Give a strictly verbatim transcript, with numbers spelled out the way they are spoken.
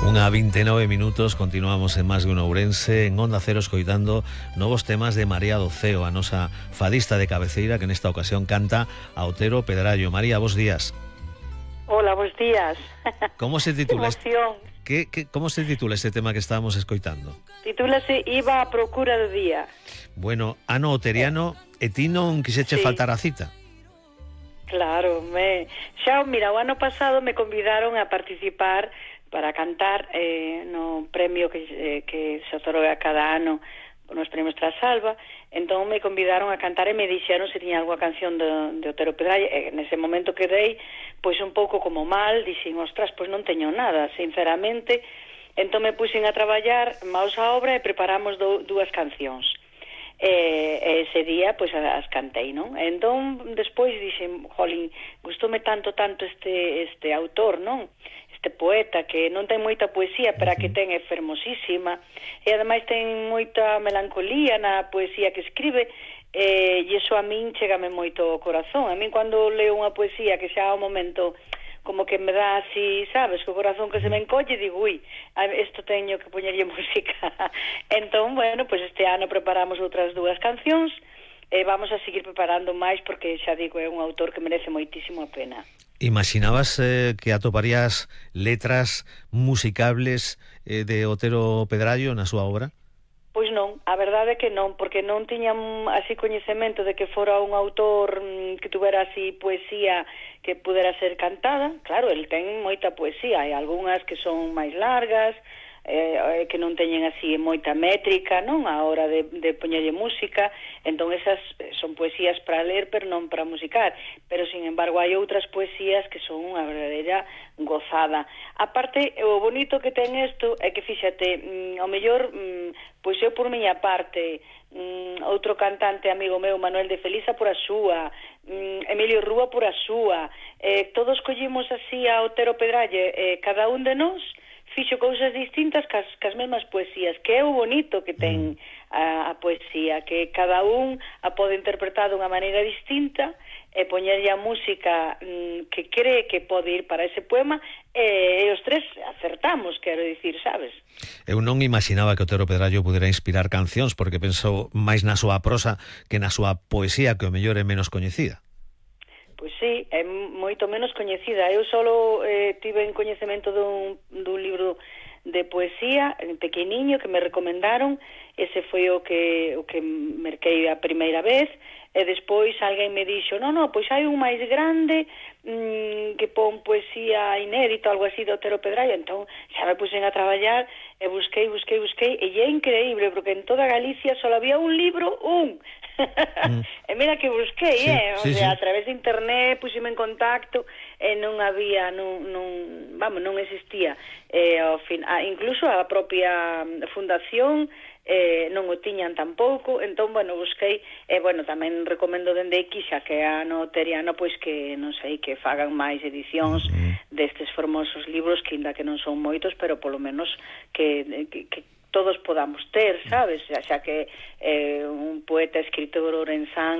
Unha vinte e nove minutos, continuamos en Más de un Ourense, en Onda Cero, escoitando novos temas de María Doceo, a nosa fadista de cabeceira, que nesta ocasión canta a Otero Pedrallo. María, bos días. Hola, bos días. Como se titula? Que emoción. Que, que, como se titula este tema que estábamos escoitando? Titúlase Iba a procura do día. Bueno, ano oteriano, e ti non quixeche Sí. faltar a cita? Claro, me... xa, mira, o ano pasado me convidaron a participar para cantar eh, no premio que, eh, que se otorga cada ano nos premios Trasalba. Entón me convidaron a cantar e me dixeron se tiña algunha canción de, de Otero Pedrallo. E nese momento quedei pois un pouco como mal, dixen, ostras, pois non teño nada, sinceramente. Entón me puxen a traballar maus a obra e preparamos do, dúas cancións. E, e ese día pois as cantei, non? Entón despois dixen, jolín, gustoume tanto tanto este este autor, non? Este poeta que non ten moita poesía, pero a que ten é fermosísima, e ademais ten moita melancolía na poesía que escribe, e, e iso a min chégame moito ao corazón. A min cando leo unha poesía que xa ao momento como que me dá así, sabes, co corazón que se me encolle, digo, ui, isto teño que poñerlle música. Entón, bueno, pois este ano preparamos outras dúas cancións, e vamos a seguir preparando máis, porque xa digo, é un autor que merece moitísimo a pena. Imaginabas eh, que atoparías letras musicables eh, de Otero Pedrallo na súa obra? Pois non, a verdade é que non, porque non tiñan así coñecemento de que fora un autor mm, que tuvera así poesía que pudera ser cantada. Claro, el ten moita poesía, hai algunhas que son máis largas, eh, que non teñen así moita métrica, non, a hora de, de poñerlle música. Entón esas son poesías para ler, pero non para musicar. Pero, sin embargo, hai outras poesías que son unha verdadeira gozada. Aparte, o bonito que ten isto é que, fíxate, mm, ao mellor, mm, pois eu por miña parte, mm, outro cantante amigo meu, Manuel de Felisa, por a súa, mm, Emilio Rúa por a súa, eh, todos collimos así a Otero Pedrallo, eh, cada un de nós fixo cousas distintas cas, cas mesmas poesías, que é o bonito que ten a, a poesía, que cada un a pode interpretar dunha maneira distinta e poñerlle a música mm, que cree que pode ir para ese poema, e, e os tres acertamos, quero dicir, sabes? Eu non imaginaba que Otero Pedrallo pudera inspirar cancións, porque penso máis na súa prosa que na súa poesía, que o mellor é menos coñecida. Pois sí, é moito menos coñecida. Eu solo eh, tive en coñecemento dun, dun libro de poesía en pequeniño que me recomendaron. Ese foi o que o que merquei a primeira vez, e despois alguén me dixo, non, non, pois hai un máis grande mmm, que pon poesía inédita, algo así, de Otero Pedrallo. Entón xa me puxen a traballar e busquei, busquei, busquei, e é increíble, porque en toda Galicia só había un libro, un. Mm. E mira que busquei, sí, eh, o sí, sea, sí. A través de internet puxeme en contacto e non había, non, non, vamos, non existía. Eh, ao fin, ah, incluso a propia fundación eh, non o tiñan tampouco. Entón, bueno, busquei, e, eh, bueno, tamén recomendo dende aquí, xa que é ano oteriano, pois que, non sei, que fagan máis edicións mm. destes formosos libros, que ainda que non son moitos, pero polo menos que, que, que todos podamos ter, sabes? Xa, xa que eh, un poeta, escritor orensán